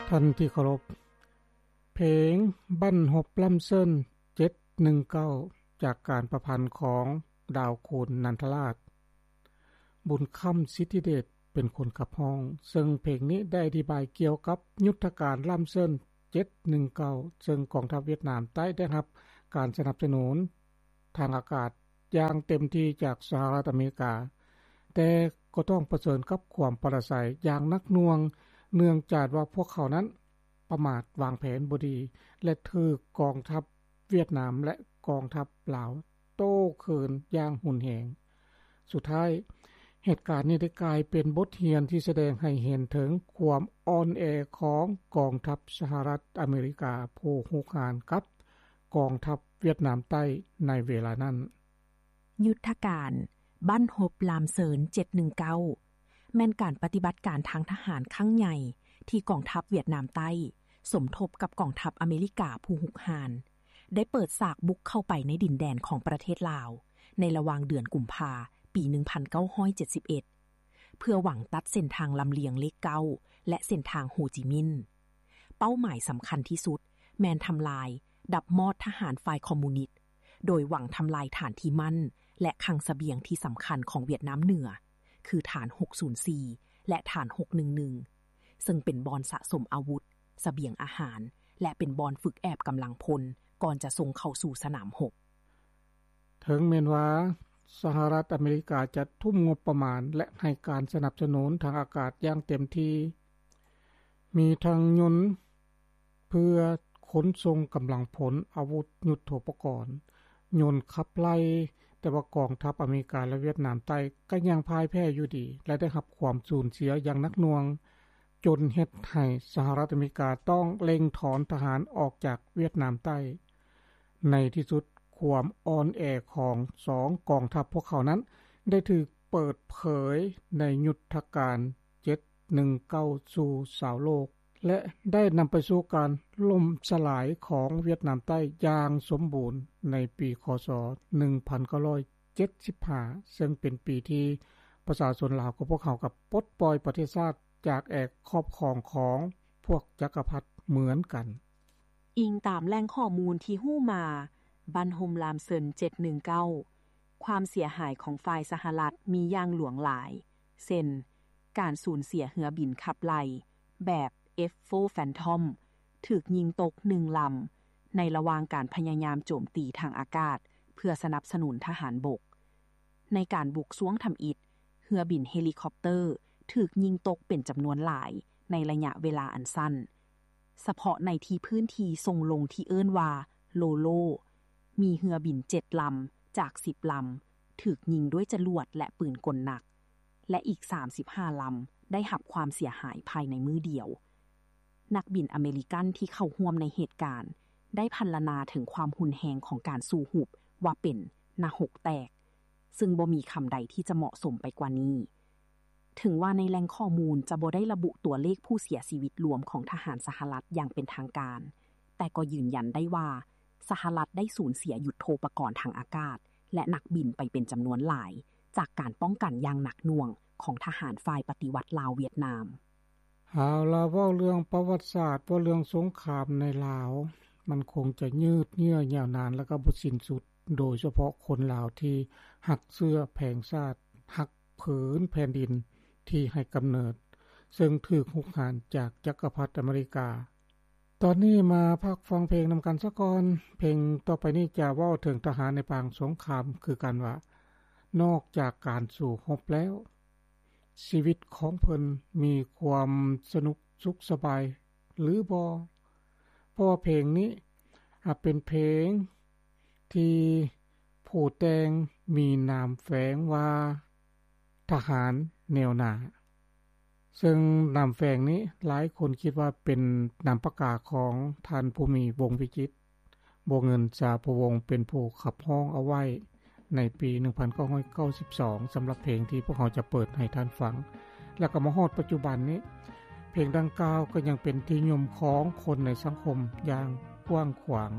ທ່ານທີ່ເຄົາລົບ, ເພງບັ້ນຮົບລ້ຳເຊີນ ເຈັດໜຶ່ງເກົ້າ ຈາກການປະພັນຂອງດາວຄູນ ນັນທະລາດ ບຸນຄຳ ສິດທິເດດ ເປັນຄົນຂັບຮ້ອງ, ເຊິ່ງເພງນີ້ໄດ້ອະທິບາຍກ່ຽວກັບຍຸດທະການລ້ຳເຊີນ ເຈັດໜຶ່ງເກົ້າ ເຊິ່ງກອງທັບຫວຽດນາມໃຕ້ໄດ້ຮັບການສະໜັບສະໜູນທາງອາກາດຢ່າງເຕັມທີ່ຈາກສະຫະລັດອາເມລິກາ, ແຕ່ກໍຕ້ອງປະເຊີນກັບຄວາມປະລາໄສຢ່າງໜັກໜ່ວງ ເນື່ອງຈາກວ່າພວກເຂົານັ້ນປະໝາດວາງແຜນບໍ່ດີ ແລະ ຖືກກອງທັບຫວຽດນາມ ແລະ ກອງທັບລາວໂຕ້ຄືນຢ່າງຮຸນແຮງ. ສຸດທ້າຍ, ເຫດການນີ້ໄດ້ກາຍເປັນບົດຮຽນທີ່ສະແດງໃຫ້ເຫັນເຖິງຄວາມອ່ອນແອຂອງກອງທັບສະຫະລັດອາເມລິກາຜູ້ຮຸກຮານກັບກອງທັບຫວຽດນາມໃຕ້ໃນເວລານັ້ນ. ຍຸດທະການບັ້ນຮົບລາມເຊີນ ເຈັດໜຶ່ງເກົ້າ ແມ່ນການປະຕິບັດການທາງທະຫານຄັ້ງໃຫຍ່ທີ່ກອງທັບຫວຽດນາມໃຕ້ ສົມທົບກັບກອງທັບອາເມລິກາຜູ້ຮຸກຮານ ໄດ້ເປີດສາກບຸກເຂົ້າໄປໃນດິນແດນຂອງປະເທດລາວ ໃນລະຫວ່າງເດືອນກຸມພາ ປີໜຶ່ງພັນເກົ້າຮ້ອຍເຈັດສິບເອັດ ເພື່ອຫວັງຕັດເສັ້ນທາງລຳລຽງເລກເກົ້າ ແລະ ເສັ້ນທາງໂຮຈິມິນ. ເປົ້າໝາຍສຳຄັນທີ່ສຸດແມ່ນທຳລາຍ, ດັບມອດທະຫານຝ່າຍຄອມມູນິດ, ໂດຍຫວັງທຳລາຍຖານທີ່ໝັ້ນ ແລະ ຄັງສະບຽງທີ່ສຳຄັນຂອງຫວຽດນາມເໜືອ, ຄືຖານຫົກສູນສີ່ ແລະ ຖານຫົກໜຶ່ງໜຶ່ງ ເຊິ່ງເປັນບ່ອນສະສົມອາວຸດ, ສະບຽງອາຫານ ແລະ ເປັນບ່ອນຝຶກແອບກຳລັງພົນ ກ່ອນຈະສົ່ງເຂົ້າສູ່ສະໜາມຮົບ. ເຖິງແມ່ນວ່າສະຫະລັດອາເມລິກາຈະທຸ່ມງົບປະມານ ແລະ ໃຫ້ການສະໜັບສະໜູນທາງອາກາດຢ່າງເຕັມທີ່, ມີທັງຍົນເພື່ອຂົນສົ່ງກຳລັງພົນ, ອາວຸດຍຸດໂທປະກອນ, ຍົນຂັບໄລ່, ແຕ່ວ່າກອງທັບອາເມລິກາ ແລະ ຫວຽດນາມໃຕ້ກໍຍັງພ່າຍແພ້ຢູ່ດີ ແລະ ໄດ້ຮັບຄວາມສູນເສຍຢ່າງໜັກໜ່ວງ, ຈົນເຮັດໃຫ້ສະຫະລັດອາເມລິກາຕ້ອງເລັ່ງຖອນທະຫານອອກຈາກຫວຽດນາມໃຕ້. ໃນທີ່ສຸດ, ຄວາມອ່ອນແອຂອງສອງກອງທັບພວກເຂົານັ້ນ ໄດ້ຖືກເປີດເຜີຍໃນຍຸດທະການ ເຈັດໜຶ່ງເກົ້າ ສູ່ຊາວໂລກ ແລະ ໄດ້ນຳໄປສູ່ການລົ້ມສະຫຼາຍຂອງຫວຽດນາມໃຕ້ຢ່າງສົມບູນໃນປີ ຄ.ສ. ໜຶ່ງພັນເກົ້າຮ້ອຍເຈັດສິບຫ້າ ເຊິ່ງເປັນປີທີ່ປະຊາຊົນລາວຂອງພວກເຮົາກໍປົດປ່ອຍປະເທດຊາດຈາກແອກຄອບຄອງຂອງພວກຈັກກະພັດເໝືອນກັນ. ອີງຕາມແຫຼ່ງຂໍ້ມູນທີ່ຮູ້ມາ, ບັ້ນຮົບລາມເຊີນ ເຈັດໜຶ່ງເກົ້າ ຄວາມເສຍຫາຍຂອງຝ່າຍສະຫະລັດມີຢ່າງຫຼວງຫຼາຍ, ເຊັ່ນ ການສູນເສຍເຮືອບິນຂັບໄລ່ແບບ ເອັຟໂຟ Phantom ຖືກຍິງຕົກໜຶ່ງລຳ ໃນລະຫວ່າງການພະຍາຍາມໂຈມຕີທາງອາກາດເພື່ອສະໜັບສະໜູນທະຫານບົກ. ໃນການບຸກຊ່ວງທຳອິດ, ເຮືອບິນເຮລິຄອບເຕີຖືກຍິງຕົກເປັນຈຳນວນຫຼາຍໃນໄລຍະເວລາອັນສັ້ນ. ສະເພາະໃນທີ່ພື້ນທີ່ຊົງລົງທີ່ເອີ້ນວ່າ ໂລໂລ ມີເຮືອບິນເຈັດລຳຈາກສິບລຳຖືກຍິງດ້ວຍຈະຫຼວດ ແລະ ປືນກົນໜັກ ແລະ ອີກສາມສິບຫ້າລຳໄດ້ຮັບຄວາມເສຍຫາຍພາຍໃນມື້ດຽວ. ນັກບິນອາເມລິກັນທີ່ເຂົ້າຮ່ວມໃນເຫດການ ໄດ້ພັນລະນາເຖິງຄວາມຮຸນແຮງຂອງການສູ້ຮົບວ່າເປັນ ນະຫົກແຕກ, ເຊິ່ງບໍ່ມີຄຳໃດທີ່ຈະເໝາະສົມໄປກວ່ານີ້. ເຖິງວ່າໃນແຫຼ່ງຂໍ້ມູນຈະບໍ່ໄດ້ລະບຸຕົວເລກຜູ້ເສຍຊີວິດລວມຂອງທະຫານສະຫະລັດຢ່າງເປັນທາງການ, ແຕ່ກໍຢືນຢັນໄດ້ວ່າ ສະຫະລັດໄດ້ສູນເສຍຍຸດໂທປະກອນທາງອາກາດ ແລະ ນັກບິນໄປເປັນຈຳນວນຫຼາຍ ຈາກການປ້ອງກັນຢ່າງໜັກໜ່ວງຂອງທະຫານຝ່າຍປະຕິວັດລາວຫວຽດນາມ. ເອົາລະ, ເວົ້າເລື່ອງປະຫວັດສາດ, ເວົ້າເລື່ອງສົງຄາມໃນລາວ, ມັນຄົງຈະຍືດເຍື້ອຍາວນານ ແລະ ກໍບໍ່ສິ້ນສຸດ, ໂດຍສະເພາະຄົນລາວທີ່ຮັກເຊື້ອແຜງຊາດ, ຮັກ ຜືນແຜ່ນດິນທີ່ໃຫ້ກຳເນີດ, ເຊິ່ງຖືກຮຸກຮານຈາກຈັກກະພັດອາເມລິກາ. ຕອນນີ້ມາພັກຟັງເພງນຳກັນສາກ່ອນ. ເພງຕໍ່ໄປນີ້ຈະເວົ້າເຖິງທະຫານໃນປາງສົງຄາມຄືກັນວ່າ, ນອກຈາກການສູ້ຮົບແລ້ວ, ຊີວິດຂອງເພິ່ນມີຄວາມສະໜຸກສຸກສະບາຍຫຼືບໍ່? ເພາະວ່າເພງນີ້ ອາ ເປັນເພງ ທີ່ຜູ້ແຕ່ງມີນາມແຝງວ່າ ທະຫານແນວໜ້າ, ເຊິ່ງນາມແຝງນີ້ຫຼາຍຄົນຄິດວ່າເປັນນາມປາກກາຂອງທ່ານ ພູມີ ວົງວິຈິດ, ບົວເງິນ ສາພູວົງ ເປັນຜູ້ຂັບຮ້ອງເອົາໄວ້ໃນປີໜຶ່ງພັນເກົ້າຮ້ອຍເກົ້າສິບສອງ ສຳລັບເພງທີ່ພວກເຮົາຈະເປີດໃຫ້ທ່ານຟັງ. ແລ້ວກໍມາຮອດປັດຈຸບັນນີ້, ເພງດັ່ງກ່າວກໍຍັງເປັນທີ່ນິຍົມຂອງຄົນໃນສັງຄົມຢ່າງກວ້າງຂວາງ.